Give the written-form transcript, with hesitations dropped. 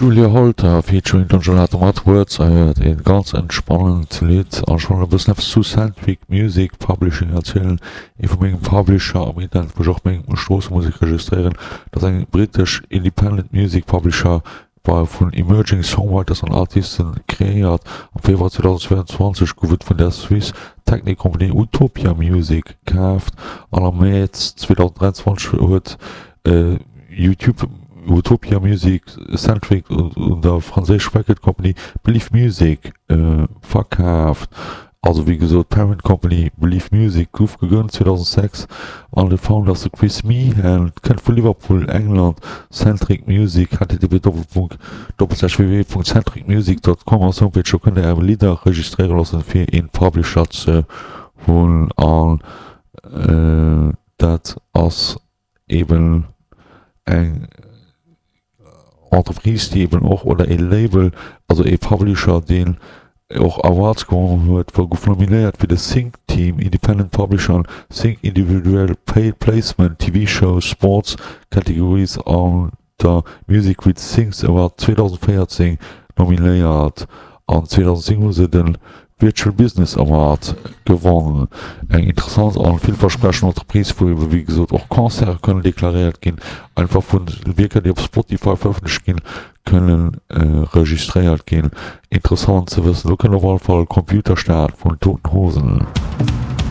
Julia Holter featuring Don Gelato mat Words I Heard, een ganz entspannend Lidd an ech wollt e bëssen eppes zu Sandvik Music Publishing erzielen, ee vu mengem Publisher am Internet wou ech och meng Stroossemusek registréieren. Dat ass eng britesch Independent Music Publisher war vun Emerging Songwriters an Artisten kreéiert. Am Februar 2022 gouf et vun der Swiss Technik Company Utopia Music kaaft an am Mäerz 2023 huet YouTube Utopia Music Centric un der franséisch Record Company Believe Music verkaaft. Also wéi gesot, d'Parent Company Believe Music gouf gegrënnt 2006 an de Founder ass de Chris Meehan, kënnt vu Liverpool, England. Centric Music, http://www.centricmusic.com ass Homepage, do kënnt der är Lidder registréiere loossen fir een Publisher ze hunn an dat ass eben eng Entreprise, déi eben och, oder ee Label, also ee Publisher, deen och Awards gewonnen huet, wou gouf nominéiert fir de Sync Team, Independent Publisher an Sync Individual Placement, TV Shows, Sports Categories an der Music With Syncs Award 2014 nominéiert an 2010 hu se de Virtual Business Award gewonn. Eng interessant an villversprechend Entreprise, wou ebe wéi gesot och Concerte kënnen deklaréiert ginn, einfach vu Wierker déi op Spotify verëffentlecht ginn, kënnen registréiert ginn. Interessant ze wëssen. Do kënnt op alle Fall Computerstaat vun Toten Hosen.